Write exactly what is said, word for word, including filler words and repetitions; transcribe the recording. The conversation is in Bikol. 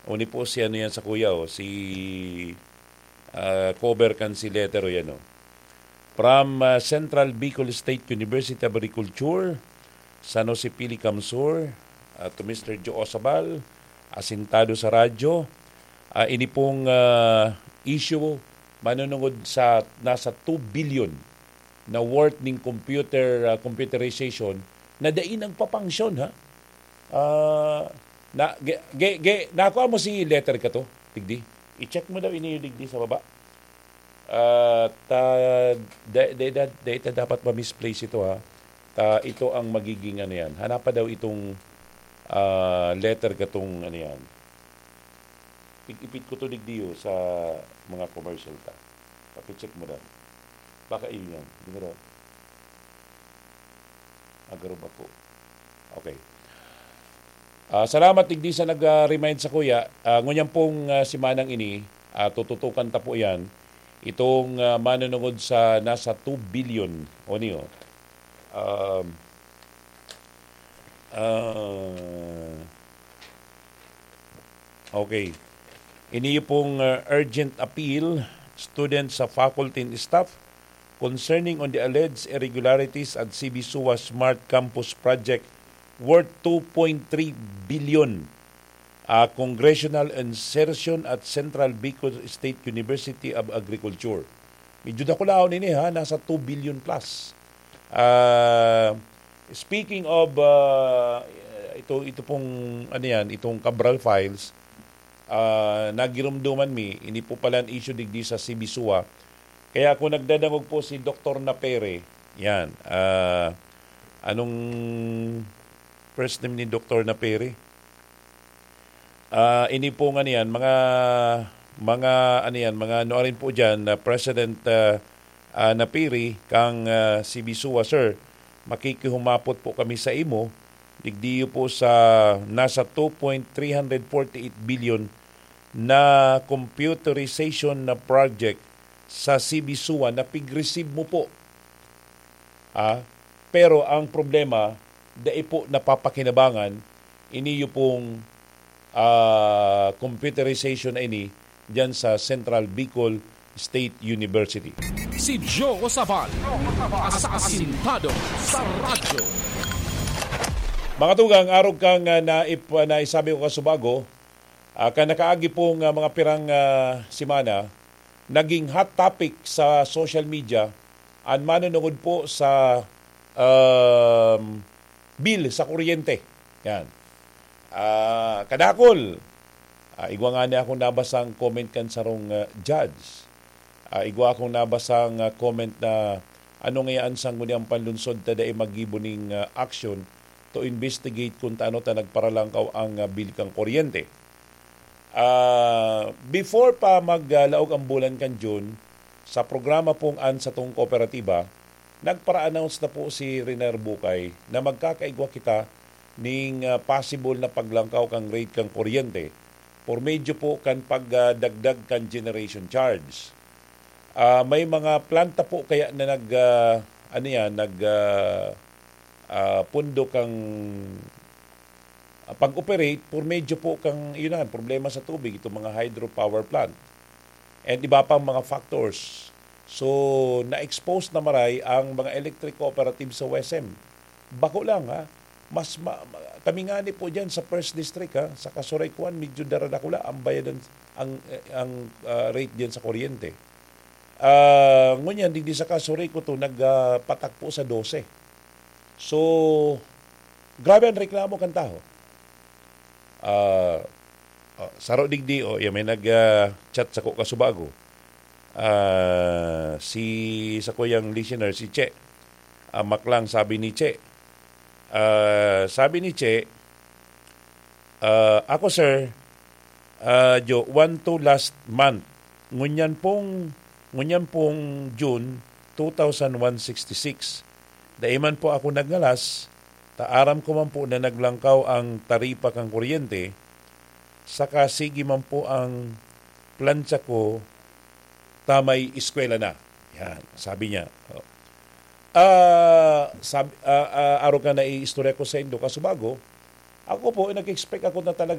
Uni po si ano yan sa kuya, oh, si, ah, cover kan si letter, o yan, oh. From, ah, Central Bicol State University of Agriculture, San Jose Pili Camsur, ah, to Mister Joe Osabal, asintado sa radyo. Ah, ini pong, ah, issue manunungod sa nasa two billion na worth ning computer, ah, computerization na dai nagpapangsyon, ha? Ah, na, ge, ge, ge, nakuha mo si letter ka to, digdi? I-check mo daw ini digdi sa baba. Ah, ta, da, da, da, da, ita dapat ma-misplace ito, ha. Ta, ito ang magiging ano yan. Hanapa daw itong, ah, letter katong ano yan. Ipit ko to digdi, oh, sa mga commercial ta. Pakicheck mo daw. Baka iyo yan. Di ba daw? Agaro ba ko? Okay. Ah, salamat digdi sa nag-remind sa kuya. Ah, ngunyan pong, ah, simanang ini, ah, tututukan ta po yan. Itong, ah, manunungod sa nasa two billion. O niyo. Um, ah, okay. Ini pong, ah, urgent appeal, students sa faculty and staff, concerning on the alleged irregularities at C B SUA Smart Campus Project worth two point three billion, ah, congressional insertion at Central Bicol State University of Agriculture. Medyo dakulaon ini, ha, nasa two billion plus. Ah, speaking of, ah, ito, ito pong, ano yan, itong Cabral Files, ah, nagirumduman mi, ini po pala an issue digdi sa C B SUA. Kaya kung nagdadangog po si Doktor Napere, yan, ah, anong first name ni Doktor Napere? Ah, ini po nga niyan, mga, mga, ano yan, mga nuarin po dyan na President, ah, ah, Napiri, kang, ah, C B SUA, sir, makikihumapot po kami sa imo, digdiyo po sa nasa two point three hundred forty eight billion na computerization na project sa C B SUA na pig-receive mo po. Ah, pero ang problema, dai po napapakinabangan, iniyo pong, ah, computerization na ini diyan sa Central Bicol State University. Si Joe Sabal, asasintado sa radyo. Mga tugang, arog kang, ah, naip-, naisabi ko kasubago, ah, kan nakaagi pong, ah, mga pirang, ah, semana, naging hot topic sa social media an manunungod po sa, um, bill sa kuryente. Yan. Ah, kadakul, ah, igwa ngani akong nabasang comment kan sarong, ah, judge. Ah, igwa akong nabasang, ah, comment na, "Ano ngayaan sangguni an panlunsod ta dai maggibo ning, ah, action to investigate kun taano ta nagparalangkaw ang, ah, bill kan kuryente?" Ah, before pa maglaog ang bulan kan June, sa programa pong An Satong Kooperatiba, nagpara-announce na po si Rener Bucay na magkakaigwa kita ning, ah, possible na paglangkaw kan rate kan kuryente por medyo po kan pagdagdag kan generation charge. Ah, may mga planta po kaya na nag, ah, ano yan, nag, ah, ah, pundo kang, ah, pag-operate por medyo po kang, yun na, problema sa tubig, itong mga hydropower plant. And iba pang mga factors. So, na-expose na maray ang mga electric cooperative sa W E S M. Bako lang, ha? Mas ma-, ma-, kami ngani po dyan sa First District, ha? Sa Kasuray kuan, medyo daradakula ang bayadan, ang, ang, ah, rate dyan sa kuryente. Ah, ngunyan, digdi sa Kasuray ko to, nag, ah, patak po sa dose. So, grabe ang reklamo kan tawo. Ah, ah, saro digdi, oh, yan, may nag, ah, chat sako kasubago. Ah, si, sakuyang listener, si Che. Ah, Maklang, sabi ni Che. Ah, sabi ni Che, ah, "Ako, sir, ah, Jo, one two last month. Ngunyan pong, ngunyan pong June two thousand one sixty-six. Dai man po ako nagngalas, ta aram ko man po na naglangkaw ang taripa kan kuryente, saka sige man po ang plantsa ko ta may eskwela na." Yan, sabi niya. Oh. Ah, sab-, ah, ah, arog kan naiistorya ko saindo kasubago, ako po, nag-expect ako na talaga